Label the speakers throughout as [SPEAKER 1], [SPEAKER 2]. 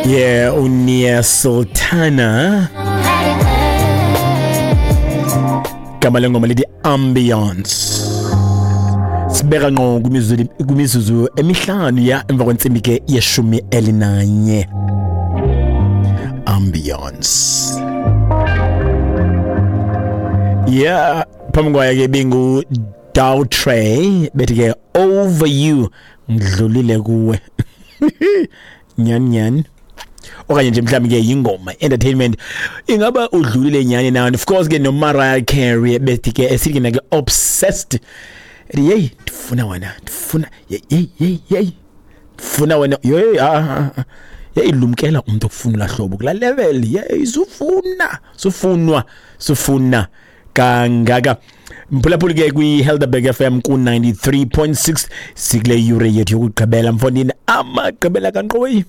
[SPEAKER 1] Yeah, uNia Sultana. Gama lengoma lithi Ambiance. Sibeka ngqo kwimizuzu emihlanu ya emva kwentsimbi ke ye-11. Ambiance. Yeah, phambi kwayo ke bingu Dowtray bethi ke Over You, ngidlulile kuwe. Nyani nyani. Okanye nje mhlawumbi ke yingoma entertainment, ingaba udlulile nyani na? And of course ke no Mariah Carey bethi ke esithi ke Obsessed. Hey, ndifuna wena, ndifuna hey hey hey, ndifuna wena. Hey, ah, hey, lumkela umuntu okufuna lahlobo kula level. Hey, sufuna sufunwa sufuna kangaka. Mphulaphuli ke kwi-Helderberg FM ku-93.6 sikule yure yethu yokugqibela, mfondini, amagqibela kankqoyi.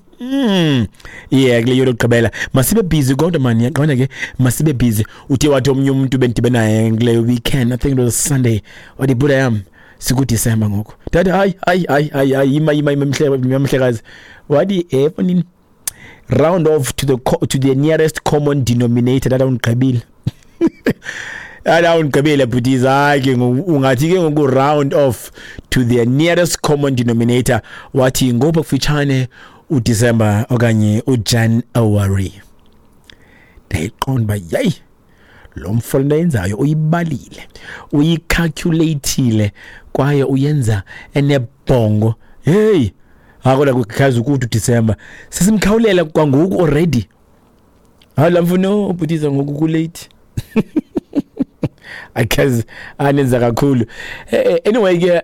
[SPEAKER 1] Yeah, kule yure yokugqibela masibe busy kodwa mani, yaqonda ke, masibe busy. Uthe wathi omnye umuntu bendibe naye kule weekend, I think it was Sunday, wathi buda yam sikuDisemba ngoku. Ndathi hayi hayi hayi hayi hayi, yima yima yima mhlekazi. Wathi mfondini, round off to the nearest common denominator. That undigqibile. Ala undigqibile bhuti hayi ungathi ke ngoku round off to the nearest common denominator, wathi ngoba kufitshane uDecember okanye uJanuary. Ndayiqonda uba yeyi lo mfo lento ayenzayo uyibalile, uyicalculatile kwaye uyenza enebhongo. Hey, akola kukhaza ukuthi uDecember sesimkhawulela kwangoku already. Hayi la mfo bhutiza ngoku kulate. Akazi anenza kakhulu. Anyway ke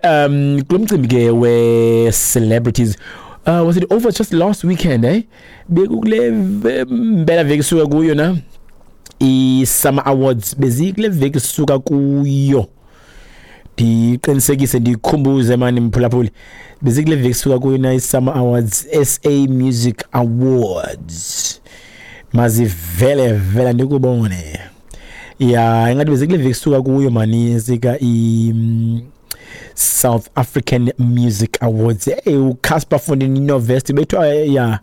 [SPEAKER 1] kulo mcimbi ke we celebrities, was it over just last weekend, eh? Bekukule mpela veki suka kuyo na i-Summer Awards, bezikule veki suka kuyo. Ndiqinisekise ndikhumbuze mani mphulaphuli, bezikule veki suka kuyo na i-Summer Awards, SA Music Awards. Mazivele vela ndikubone. Yeah, ingathi bezikule veki suka kuyo mani sika i South African Music Awards. Hey, uCasper Fondini Novest bethu ya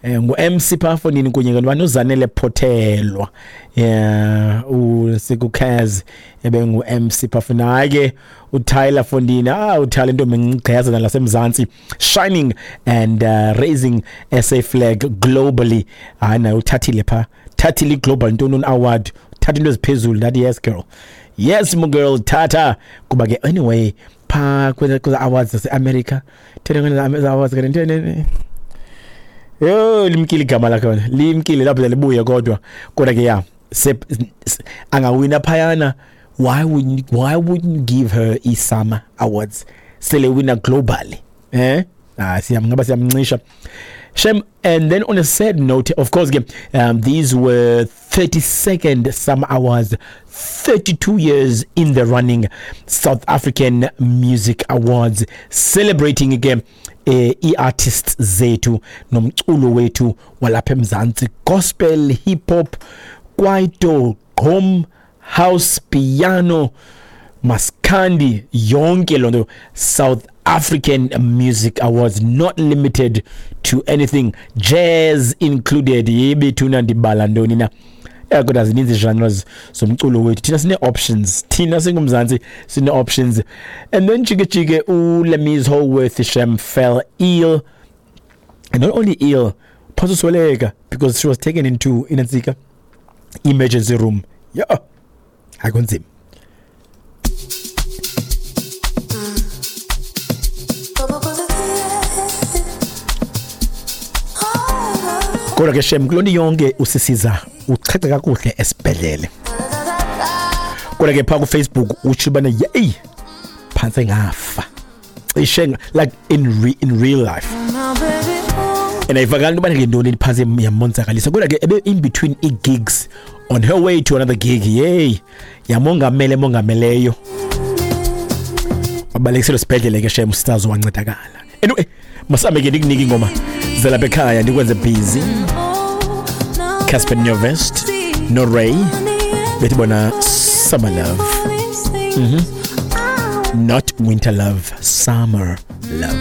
[SPEAKER 1] ngu MC pha Fondini kunye ke noZanele Phothelwa. Yeah, uSikuKaz ebengu MC pha Fondini. Hayi ke uTyler Fondini, uTyler intombi engigqiyazana lasemzansi, shining and raising SA flag globally. Hayi naye uthathile pha, thathile global ntoni award, thatha into eziphezulu. That yes girl. Yes mo girl tata. Kuba ke anyway pha kweza awards zase America, thena kweza awards ke ntene. Yo limkile igama lakho, limkile lapho libuye kodwa ke ya angawina phayana. Why wouldn't you give her iSummer Awards? Sele winner globally. Eh? Siyamngaba siyamncisha. Shem. And then on a sad note, of course, these were 32nd Summer Awards, 32 years in the running, South African Music Awards, celebrating again i-artists zethu nomculo wethu walapha eMzansi, gospel, hip hop, kwaito, gqom, house, piano, maskandi, yonke lonto. South African Music Awards, not limited to anything, jazz included. Yebethuna ndibala ntoni na? Kodwa zininzi genres zomculo wethu. Thina sine options, thina singumzansi sine options. And then jike jike uLamise Holworth Shem fell ill, and not only ill, phososweleka, because she was taken into inantsika emergency room. Yeah, akunzima. Kodwa ke Shem kulonto yonke usisiza uchache kakuhle esibhedlele. Kodwa ke pha ku Facebook utsho bana yey phantse ngafa. Cishe like in real life. And ayivakali into bana ke ntoni phantse yamonzakalisa. Kodwa ke ebe in between i-gigs on her way to another gig. Yey yamongamele mongameleyo. Wabalekisela esibhedlele ke Shem usitazo wancedakala. Anyway, masambe ke ndikunike ingoma zelapha ekhaya ndikwenze busy. Casper Nyovest no Ray bethi bona Summer Love. Not winter love, summer love.